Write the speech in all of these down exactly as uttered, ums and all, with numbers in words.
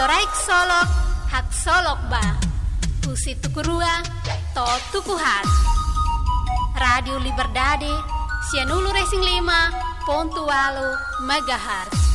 Loraik Solok, Haksolok Ba. Husi tuku rua to'o tuku haat. Rádiu Liberdade, sianulu-resin-lima pontu ualu megahertz.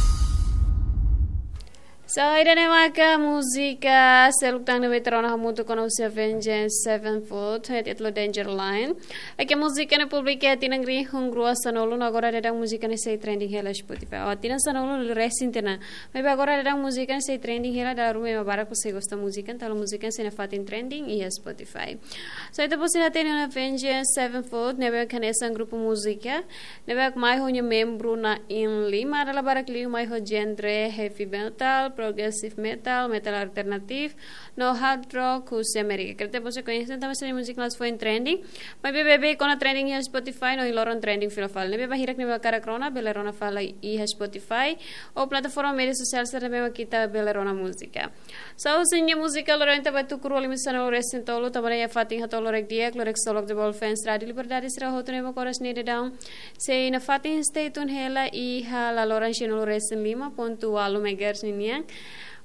So, ida-ne'e maka múzika seluk tan ne'ebé ita rona hamutuk ona husi Avenged Sevenfold, ho títulu Danger Line. Oke, múzika ne'e publika iha tinan rihun rua sanulu, no agora daudaun múzika ne'e sei trending hela Spotify. Oh, tinan sanulu resin tiha ona. Maibé agora daudaun múzika ne'e sei trending hela, dala ruma ema barak sei gosta múzika, entaun múzika sei nafatin trending iha Spotify. So, ita-boot sira hatene ona Avenged Sevenfold, ne'ebé hanesan grupu múzika ne'ebé mai ho nia membru na'in-lima, dala barak liu mai ho genre heavy metal, progressive metal, metal alternative, no hard rock husi Amérika. Karik ita-boot sira koñese tanba sira-nia múzika la'ós foin trending, maibé beibeik ona trending iha Spotify, no iha loron trending fila fali. Ne'ebé ba hirak ne'ebé hakarak rona, bele rona fali iha Spotify ou plataforma média sosiál sira ne'ebé mak ita bele rona múzika. So, husi nia múzika loron ita ba tuku rua lima sanulu resin tolu, tanba ne'e iha fatin hato'o loraik di'ak, Loraik Solok The Ball fans Rádiu Liberdade sira hotu ne'ebé mak oras ne'e daudaun sei nafatin stay tune hela iha laloran sianulu resin lima pontu ualu megahertz ninian.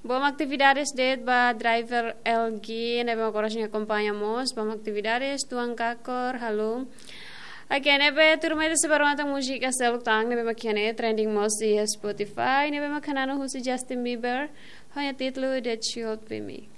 Boot mak atividades de'it ba driver L G ne'ebé mak oras ne'e akompaña mós, boot mak atividades, tuan kakor, halo. Oke, ne'ebé tuirmai ita sei bá rona tan múzika seluk tan ne'ebé mak iha ne'e trending mós iha Spotify, ne'ebé mak hananu husi Justin Bieber, ho nia títulu That Should Be Me.